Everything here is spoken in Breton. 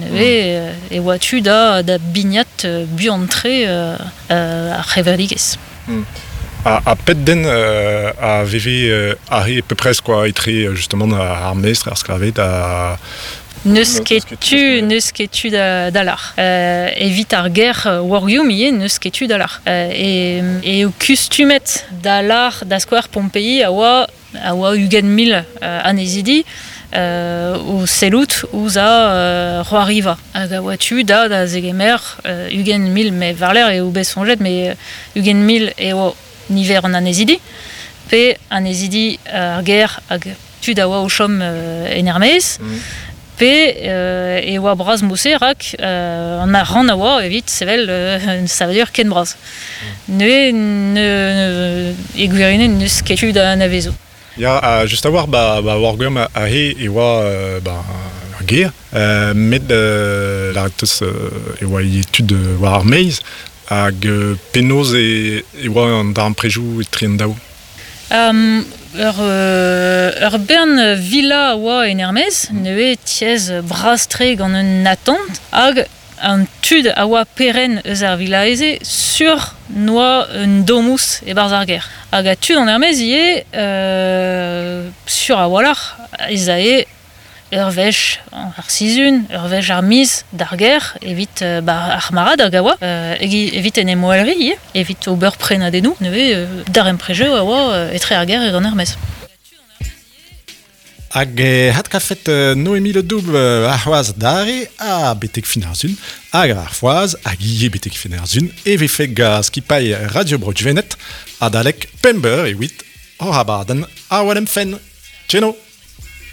Neuze e oa tu da, da bignat buan-tre ar c'hevredigezh. Ha, ha pet den a veve arre peu près quoi, etre justement ar mestr, ar sklaved ha... N'eus ket tu, n'eus ket tu da, da lar. Evit ar ger Wargium ivez, n'eus ket tu da lar. E, eo kustumet da lar da skouer Pompei a oa a oa 20 000 annezidi o sellout ouzh ar c'hoariva. Hag a oa tu da da zegemer 20 000, met war-lerc'h eo bet soñjet, met 20 000 eo niver an annezidi, pe annezidi ar gêr hag tud a oa o chom en er-maez, pe e oa bras mod-se rak an arc'hant a oa evit sevel un savadur ken bras. Neuze e gwirionez n'eus ket tu da anavezout. Ya, ha just a-walc'h ba, ba Wargwern aze e oa ba, ur gêr, met lâret 'teus e oa ivez tud war ar maez, hag penaos e, e oa an darempredoù etre an daou? Ur, ur bern villa a oa en er-maez, neuze tiez bras-tre gant un atant, hag an tud a oa perc'henn eus ar villa-se sur n'oa un domus e-barzh ar gêr. Hag a tud an er-maez ivez, sur a-walc'h ez ae ur wech ar sizhun, ur wech ar miz d'ar gêr evit ba ar marc'had hag a oa, evit en em welriñ ivez, evit ober prenadennoù. Neuze darempredoù a oa etre ar gêr hag an er-maez. Hag e adkavfet Noémie Le Doubl arc'hoazh adarre ha betek fin ar sun hag ar foaz hag ivez betek fin ar sun e vefe gant skipailh Radio Bro Gwened adalek pemp eur evit hoc'h abadenn Awel em fenn. Tcheno!